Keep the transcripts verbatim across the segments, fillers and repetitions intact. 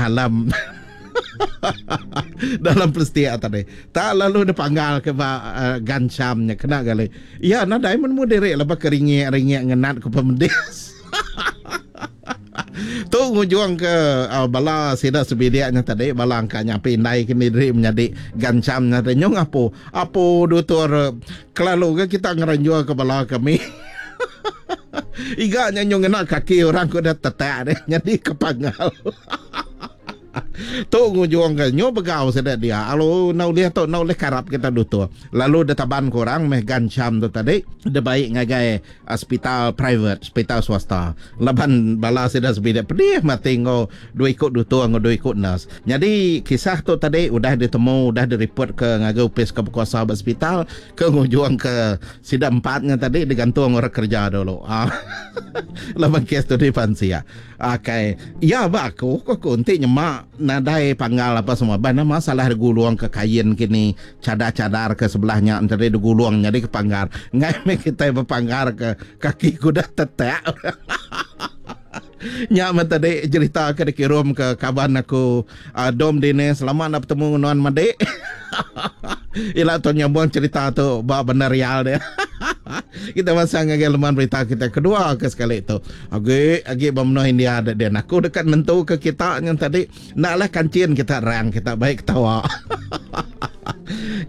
Dalam dalam plastik tadi. Tak lalu dipanggal ke ba uh, gancam nya kena gali. Ya nadai menemu diri lepas ke ringik-ringik ngenat ke pemedis. Tu ngujung ke uh, bala sida sebiliknya tadi, bala angka nyapi indai ke diri menyadi gancam nya tadi nyong apo apo dutur kelalu ke kita ngeranjua ke bala kami. Iga nya nyong ngena kaki orang ku dah tetak deh nyadi ke panggal. Tu ngujung ke nyu begau sida dia. Lalu nak ulih tu nak ulih karap kita dutur. Lalu ditaban ke orang meh gancam tu tadi dibai ngagai hospital private, hospital swasta. Laban bala sida sebilik pedih mati enggau dua iku dutur enggau dua iku nurse. Nyadi kisah tu tadi udah ditemu, udah direport ke ngagai opis ke bekuasa ba hospital ke ngujung ke sida empatnya tadi digantung orang kerja dulu. Laban kes tu dipansia. Okey. Ya ba aku, aku aku enti nyema nadai panggal apa semua. Bah nama salah digulung ke kain kini, cadar-cadar ke sebelahnya tadi digulung jadi ke panggar. Ngai meh kita berpanggar ke kaki kuda tetek. Nya meh tadi cerita ke dikirim ke kaban aku uh, Dom Dine. Selamat nak bertemu dengan Madik. Ila tu nyambung cerita tu ba benar real dia. Kita masang ngagai leman berita kita kedua ke sekali tu. Agi agi ba menua India ada dia. Aku dekat nentu ke kita yang tadi naklah kancin kita rang kita baik ketawa.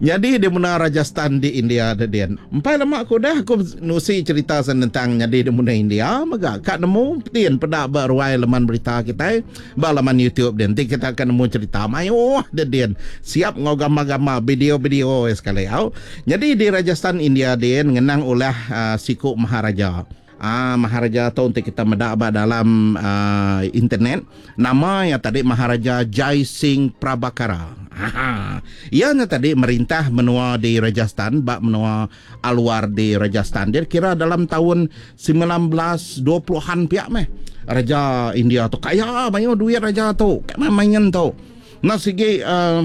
Jadi di menua Rajasthan di India ada dia. Empai lama aku dah aku nusi cerita tentang jadi di menua India mega kak nemu tin peda ba ruai leman berita kita ba laman YouTube dia. Nanti kita akan nemu cerita mayuh dia dia. Siap ngau gambar-gambar video-video sekali au. Jadi di Rajasthan India dia ngenang ulah uh, siku maharaja. Ah, Maharaja tu untuk kita medak ba dalam uh, internet. Nama yang tadi Maharaja Jai Singh Prabhakara. Aha. Ia nya tadi merintah menua di Rajasthan, bak menua Alwar di Rajasthan. Dia kira dalam tahun sembilan belas dua puluhan pihak meh. Raja India tu kaya banyak duit raja tu. Kat main tu. Nak segi uh,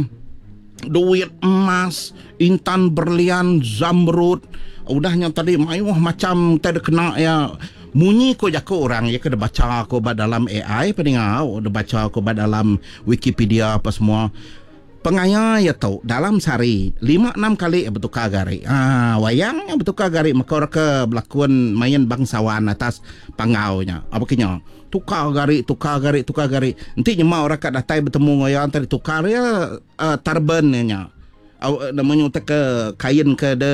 duit emas, intan berlian, zamrud. Udahnya tadi mayuh macam tak ada kena ya. Munyi ko jaku orang ya kena baca ko ba dalam A I peninga, ada baca ko ba dalam Wikipedia apa semua. Pengaya ya tu dalam sehari lima enam kali bertukar gari. Ah, wayang yang bertukar gari maka orang ke berlakon main bangsawan atas panggaunya. Apa kenya? Tukar gari, tukar gari, tukar gari. Nanti nyema orang kat datai bertemu dengan orang tadi tukar ya uh, turban nya. Aw, namanya utak ke kain ke de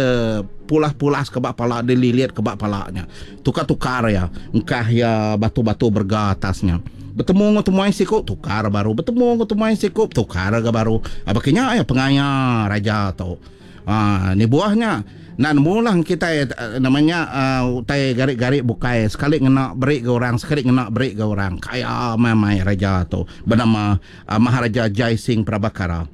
pulas-pulas ke bak pala, dililit ke bak palanya. Tukar-tukar ya. Engkah ya batu-batu berga atasnya. Bertemu dengan temuai sikuk, tukar baru. Bertemu dengan temuai sikuk, tukar ke baru. Apa kenya ya pengaya raja tu. Ah, ni buahnya. Nak mulang kita namanya uh, utai garik-garik bukai. Sekali ngena beri ke orang, sekali ngena beri ke orang. Kaya mamai raja tu. Bernama uh, Maharaja Jai Singh Prabhakara.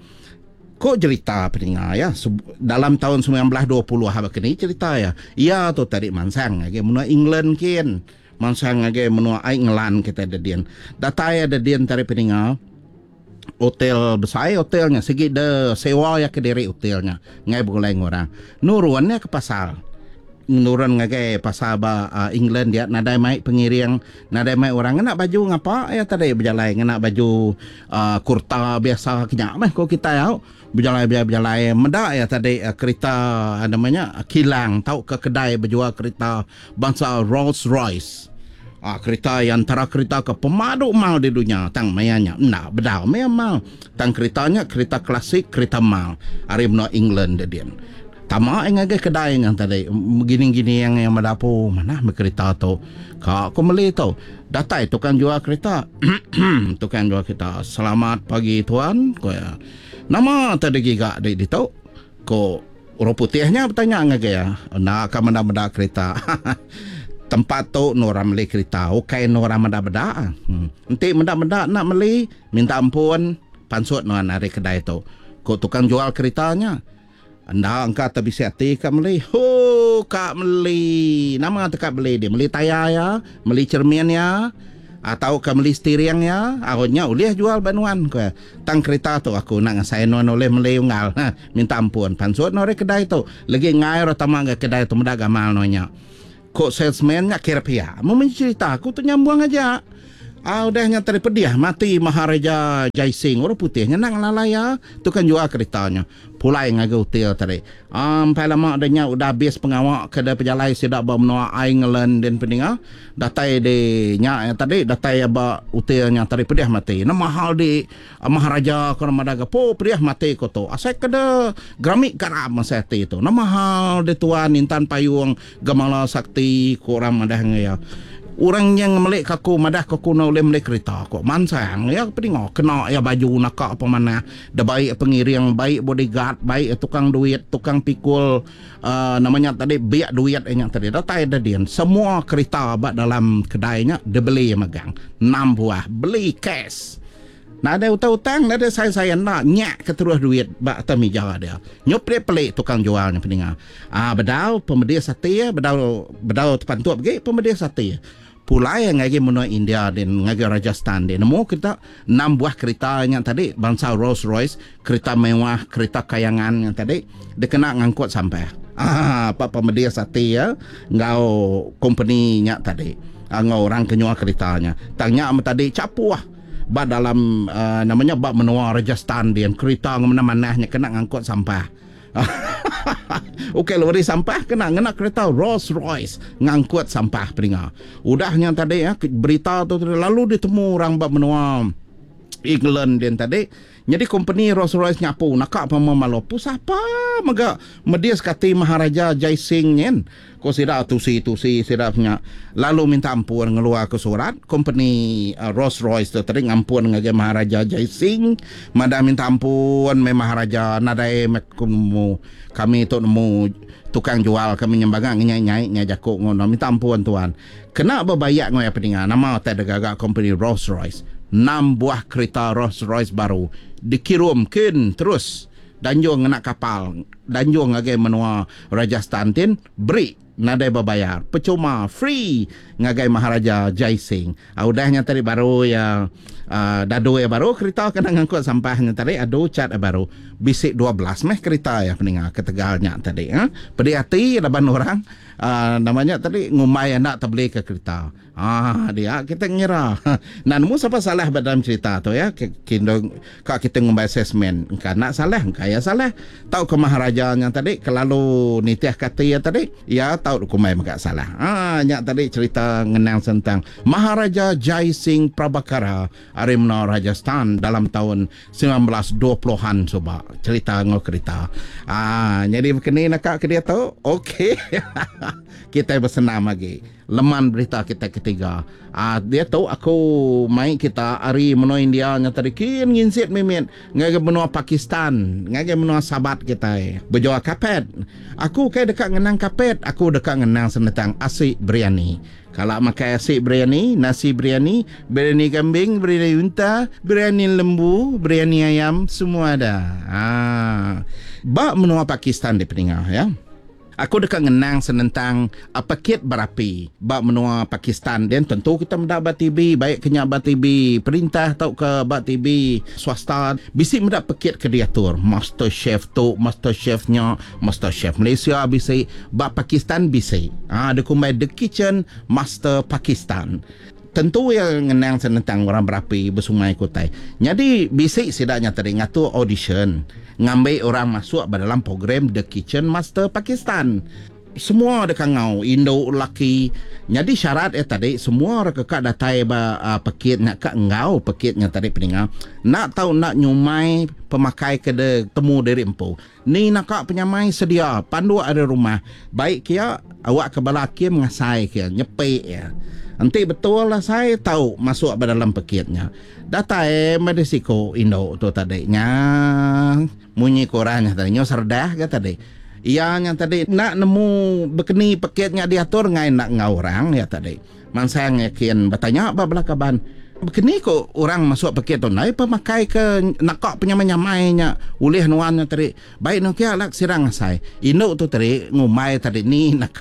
Kok cerita peninga ya dalam tahun sembilan belas dua puluh apa kini cerita ya. Ia tu tadi mansang lagi menua England kin. Mansang lagi menua England kita ada dian. Datai ada dian tadi peninga. Hotel besar hotelnya segi de sewa ya ke diri hotelnya. Ngai boleh orang. Nurunnya ke pasar. Nurun ngagai pasar ba uh, England dia nadai mai pengiring, nadai mai orang ngena baju ngapa ya tadi berjalan ngena baju uh, kurta biasa kenyak meh ko kita ya. Berjalan berjalan medak ya tadi uh, kereta uh, namanya kilang tau ke kedai berjual kereta bangsa Rolls Royce. Ah, kereta yang antara kereta ke pemadu mal di dunia tang mayanya ndak bedau maya mal tang keretanya kereta klasik kereta mal ari menua England dia dia. Tama yang ngagai kedai yang tadi gini-gini yang yang mendapu mana kereta tu. Kak aku beli tu. Datai tukang jual kereta. Tukang jual kereta. Selamat pagi tuan. Ko ya. Nama tadi giga di di tu. Ko orang putihnya bertanya ngagai ya. Nak ka menda-menda kereta. Tempat tu nu orang beli kereta. Okey nu orang menda-menda. Hmm. Enti menda-menda nak beli minta ampun pansut nuan ari kedai tu. Ko tukang jual keretanya. Anda angka terbisi hati kak beli. Ho, kak beli. Nama tu kak beli dia. Beli tayar ya, beli cermin ya, atau kak beli steering ya. Akhirnya boleh jual banuan ko. Tang kereta tu aku nak ngasai nuan oleh beli unggal. Ha, minta ampun. Pansut nore kedai tu. Lagi ngai ro tama ke kedai tu mendak gamal nonya. Kok salesman nya kira pia. Mau mencerita aku tu nyambung aja. Ah, udah nya tadi pedih mati Maharaja Jai Singh orang putih nya nang lalai ya tukang jual keretanya pulai ngagai hotel tadi. Ah, empai lama dah nya udah habis pengawa ke da pejalai sida ba menua England dan peninga datai di nya ya tadi datai ba hotel nya tadi pedih mati. Nama hal di Maharaja ko nama daga po pedih mati ko tu. Asai ke da geramik garam masa hati tu. Nama hal di tuan Intan Payung Gemala Sakti ko orang madah ngai ya. Orang yang melik aku madah aku nak boleh melik kereta aku mansang ya peninga kena ya baju nakak apa mana dah baik pengiring baik bodyguard baik tukang duit tukang pikul uh, namanya tadi biak duit nya tadi datai dah dian semua kereta ba dalam kedainya dibeli magang enam buah beli cash. Nak ada utang-utang, nak ada saya-saya nak nyak ke terus duit bak atas meja dia. Nyup dia pelik tukang jualnya peninga. Ah, bedau pemedih sati ya, bedau bedau terpantuk pergi pemedih sati. Pulai yang ngagi menua India dan ngagi Rajasthan dia. Nemu kita enam buah kereta yang tadi bangsa Rolls Royce, kereta mewah, kereta kayangan yang tadi dia kena ngangkut sampai. Ah, apa pemedih sati ya, ngau company nya tadi. Ah, ngau orang kenyua keretanya. Tanya tadi capuah. Ba dalam uh, namanya ba menua Rajasthan dia kereta mana-manahnya kena ngangkut sampah. Okey lori sampah kena ngena kereta Rolls Royce ngangkut sampah peninga. Udahnya tadi ya berita tu lalu ditemu orang ba menua England dia tadi. Jadi company Rolls Royce nyapu nakak pama malu siapa mega medis kati Maharaja Jai Singh nyen. Ko sida tusi-tusi sida punya lalu minta ampun ngeluar ke surat company uh, Rolls Royce tu tadi ngampun ngagai Maharaja Jai Singh madah minta ampun me Maharaja nadai mekumu kami tu nemu tukang jual kami nyembangang nyai-nyai nya jakuk ngono minta ampun tuan. Kena berbayak ngoi apa dengar nama tak ada gagak company Rolls Royce enam buah kereta Rolls Royce baru dikirimkan terus danjung ngena kapal danjung ngagai menua Rajasthan tin beri nadai berbayar percuma free ngagai Maharaja Jai Singh. Ah, udahnya tadi baru ya uh, dadu ya baru kereta kena ngangkut sampahnya tadi adu cat baru bisik dua belas meh kereta ya peninga ketegalnya tadi ha pedih hati laban orang uh, namanya tadi ngumai anak terbeli ke kereta. Ah dia kita ngira. Nah nemu siapa salah dalam cerita tu ya kindong kak kita ngumbai assessment engka nak salah engka ya salah tahu ke Maharaja yang tadi kelalu nitiah kata ya tadi ya tahu kumai megak salah. Ah nyak tadi cerita ngenang tentang Maharaja Jai Singh Prabhakara ari menua Rajasthan dalam tahun sembilan belas dua puluhan soba cerita ngau kereta. Ah jadi begini nak ke dia tu. Okey. Kita bersenam lagi. Leman berita kita ketiga. Ah dia tu aku main kita ari menua India nya tadi kin nginsit mimit ngagai menua Pakistan, ngagai menua sahabat kita. Berjual kapet. Aku kai dekat ngenang kapet, aku dekat ngenang senetang asi biryani. Kalau makan asi biryani, nasi biryani, biryani kambing, biryani unta, biryani lembu, biryani ayam, semua ada. Ah. Bak menua Pakistan di peningah ya. Aku dekat ngenang senentang uh, pekit berapi bak menua Pakistan dan tentu kita mendak bak T V baik kenyak bak T V perintah atau ke bak T V swasta bisi mendak pekit ke diatur master chef tu master chefnya master chef Malaysia bisi bak Pakistan bisi ah dia kumbai the kitchen master Pakistan. Tentu yang ngenang senentang orang berapi bersungai kutai. Jadi bisik sidaknya tadi ngatur audition ngambil orang masuk dalam program The Kitchen Master Pakistan. Semua ada kangau induk laki. Jadi syarat eh tadi semua orang kekak datai ba uh, pekit nak kak ngau pekitnya tadi peninga. Nak tahu nak nyumai pemakai ke de temu diri empu. Ni nak kak penyamai sedia pandu ada rumah. Baik kia awak ke bala kia mengasai kia nyepik ya. Nanti betul lah saya tahu masuk ke dalam pekitnya. Datai medisiko induk tu tadi nya munyi korangnya tadi nyo serdah ke tadi. Ia yang tadi nak nemu bekeni pekitnya diatur ngai nak ngau orang ya tadi. Mansang yakin bertanya ba belakaban. Bekeni ko orang masuk pekit tu nai pemakai ke nak penyamai-nyamainya ulih nuannya tadi. Baik nu kia lak sirang asai. Induk tu tadi ngumai tadi ni nak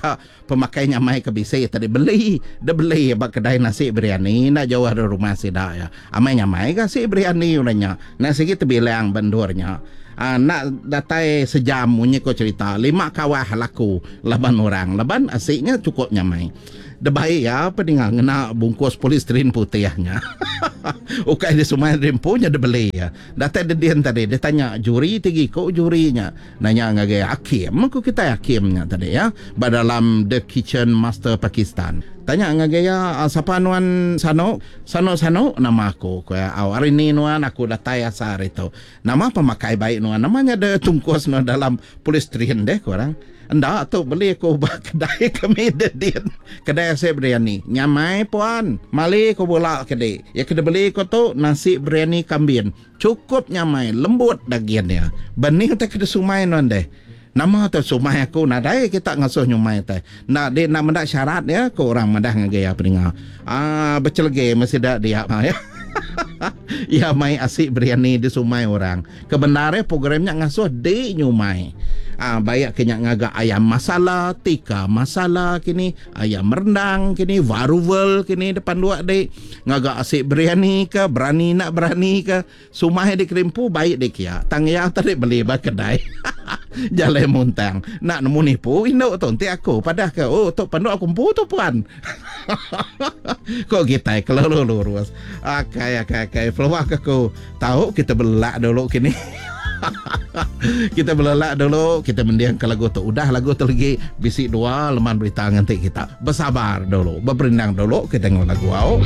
pemakai nyamai ke bisi tadi beli, dia beli ba kedai nasi biryani nak jauh dari rumah sida ya. Amai nyamai ke nasi biryani orangnya. Nak sikit terbilang bendurnya. Ah, nak datai sejam munyi ko cerita lima kawah laku laban orang laban asiknya cukup nyamai. Debai ya peninga ngena bungkus polystyrene putih nya. Ukai di sumai rimpu nya dibeli ya. Datai dedin tadi dia tanya juri tinggi ko juri nya. Nanya ngagai hakim ku kita hakim nya tadi ya. Ba dalam The Kitchen Master Pakistan. Tanya ngagai ya sapa nuan sano? Sano-sano nama aku ku ya. Au hari ni nuan aku datai asal hari tu. Nama pemakai baik nuan? Namanya ada tungkus nuan dalam polystyrene deh ku orang. Enda tu beli aku ba kedai kami dedin. Kedai asyik biryani. Nyamai puan. Mali ku bula kedi. Ya kena beli ku tu nasi biryani kambing. Cukup nyamai, lembut dagingnya. Benih tak kena sumai nuan deh. Nama tu sumai aku nadai kita ngasuh nyumai teh. Nak di nak mendak syarat ya ku orang madah ngagai ya peninga. Ah becelege mesti dak dia ya. Ya mai asyik biryani di sumai orang. Kebenarnya programnya ngasuh di nyumai. Ah bayak kenya ngagak ayam masala, tikka masala kini, ayam rendang kini, varuval kini depan dua dek. Ngagak asyik biryani ke, berani nak berani ke, sumai di kerimpu baik dek kia. Tang ya tadi beli ba kedai. Jalan muntang. Nak nemu nipu induk tu nanti aku padah ke oh tu panduk aku empu tu puan. Kok kita kalau lurus. Akai akai akai peluang aku tahu kita belak dulu kini. Kita belelak dulu, kita mendiang ke lagu tu. Udah lagu tu lagi bisi dua leman berita nganti kita. Bersabar dulu, berperindang dulu kita tengok lagu au.